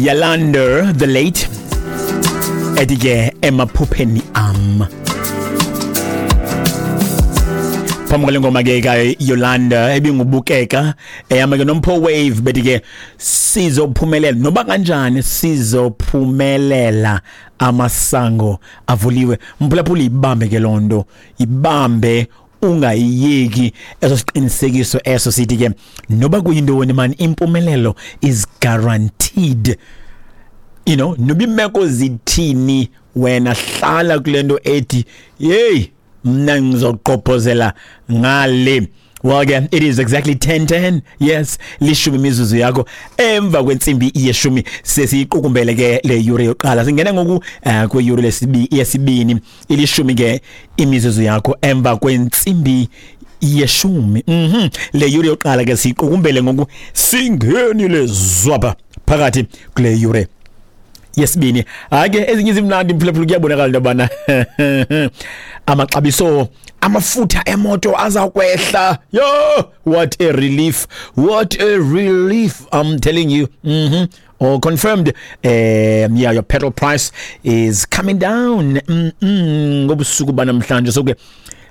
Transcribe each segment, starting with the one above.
Yalander the late ethi ke emaphupheni am. Phambi kwale ngoma ke kaYolanda ebingubukeka eyama ke noMpho Wave bethi ke sizophumelela noba kanjani, sizophumelela, amasango avuliwe. Mphulaphula, ibambe ke loo nto, ibambe ungayiyeki. Eso siqinisekiso eso sithi ke noba kuyintoni man, impumelelo is guaranteed. Noba imeko zithini, wena hlala kule nto ethi yeyi, mna ngizogqobhozela ngale. Well ke, it is exactly 10:10. Yes, 10 imizuzu yakho emva kwentsimbi yeshumi. Sesiyiqukumbele ke le yure yokuqala, singena ngoku kwiyure yesibini. 10 ke imizuzu yakho emva kwentsimbi yeshumi. Le yure yokuqala ke siyiqukumbele ngoku, singenile zwapha phakathi kule yure yesibini. Hayi ke, ezinye izimnandi, mphulaphula. Kuyabonakala into yobana amaxabiso amafutha emoto aza kwehla. Yo, what a relief, what a relief, I'm telling you. All confirmed. Yeah, your petrol price is coming down ngobusuku banamhlanje. So ke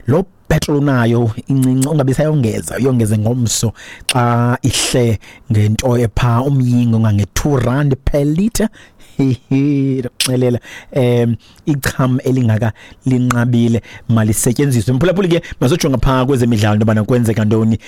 lo petrol unayo incinci, ungabe sayongeza, uyongeze ngomso xa ihle ngento epha umyingo ngange R2 per liter. Xelela icham elingaka linqabile, malisetyenziswe, mphulaphuli. Ke masojonga phaa kwezemidlalo into yobana kwenzeka ntoni.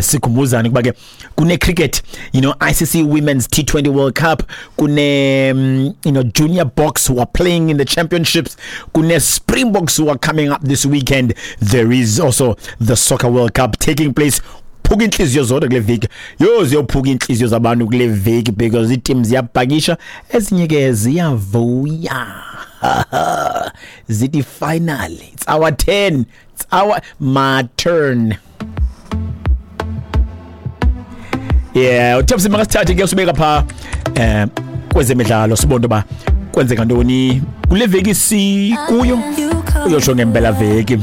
Sikhumbuzane ukuba ke kune cricket, ICC Women's T20 World Cup, kune Junior Boks who are playing in the championships, kune Springboks who are coming up this weekend. There is also the Soccer World Cup taking place. Phuka inhliziyo zodwa kule veki. Yo, ziyophuka inhliziyo zabantu kule veki because iteam ziyabhakisha, ezinye ke ziyavuya, zithi finally it's our turn, it's our my turn. Yeah, uThapsi makasithathe ke usibeka pha kwezemidlalo, sibone ba kwenzeka ntoni kule veki sikuyo, uyotsho ngempela veki.